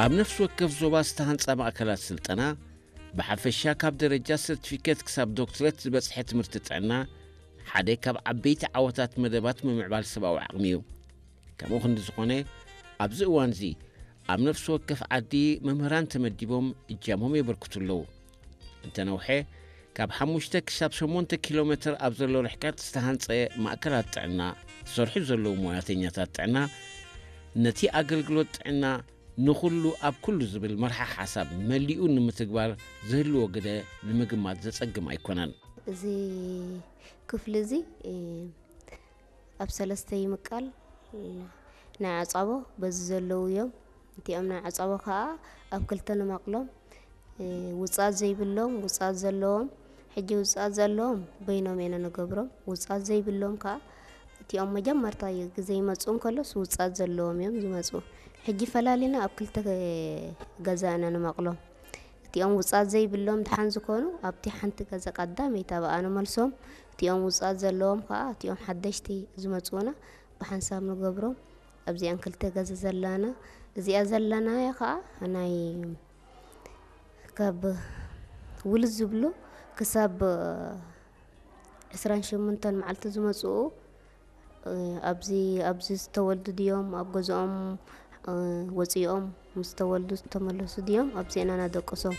ኣብ ነፍሲ ወከፍ ዞባ ዝተሃንጻ ማእከላት ስልጠና፣ ብሓፈሻ ካብ ደረጃ ሰርቲፊኬት ክሳብ ዶክትሬት ዝበጽሐ ትምህርቲ ጥዕና፣ ሓደ ካብ ዓበይቲ ዓወታት መደባት ምምዕባል ሰብኣዊ ዓቕሚ እዩ። ከምኡ ክንዲ ዝኾነ፣ ኣብዚ እዋንዚ ኣብ ነፍሲ ወከፍ ዓዲ መምህራን ተመዲቦም እጃሞም የበርክቱ ኣለዉ። እንተነውሐ፣ ካብ ሓሙሽተ ክሳብ ሸሞንተ ኪሎ ሜትር ኣብ ዘሎ ርሕቀት ዝተሃንጸ ማእከላት ጥዕና ዝሰርሑ ዘለዉ ሞያተኛታት ጥዕና፣ ነቲ ኣገልግሎት ጥዕና ንኹሉ ኣብ ኩሉ ዝብል መርሓ ሓሳብ መሊኡ ንምትግባር ዝህልዎ ግደ ንምግማት ዘጸግም ኣይኮነን። እዚ ክፍሊ እዚ፣ እ፣ ኣብ ሰለስተ ይምቀል። ናይ ዓጻቦ በዚ ዘለዉ እዮም። እቲኦም ናይ ዓጻቦ ከኣ ኣብ ክልተ ንመቕሎም። እ፣ ውጻት ዘይብሎም፣ ውጻት ዘለዎም። ሕጂ ውጻት ዘለዎም በይኖም ኢና ንገብሮም። ውጻት ዘይብሎም ከኣ እቲኦም መጀመርታ ግዜ ይመጹ እንከሎስ ውጻት ዘለዎም እዮም ዝመጹ። ሕጂ ፈላሊና ኣብ ክልተ ገዛ ኢና ንመቕሎም። እቲኦም ውጻት ዘይብሎም ደሓን ዝኾኑ ኣብቲ ሓንቲ ገዛ ቀዳመይቲ ኣብኣ ንመልሶም። እቲኦም ውጻት ዘለዎም ከኣ እቲኦም ሓደሽቲ ዝመጹና ብሓንሳብ ንገብሮም። ኣብዚኣን ክልተ ገዛ ዘላና፣ እዚኣ ዘላናያ ከኣ ናይ ካብ ውልድ ዝብሉ ክሳብ ዕስራን ሸሞንተን መዓልቲ ዝመጽኡ፣ እ፣ ኣብዚ፣ ኣብዚ ዝተወልዱ ድዮም፣ ኣብ ገዝኦም፣ እ፣ ወጺኦም ምስ ተወልዱ ዝተመለሱ ድዮም፣ ኣብዚአን ኣናደቅሶም።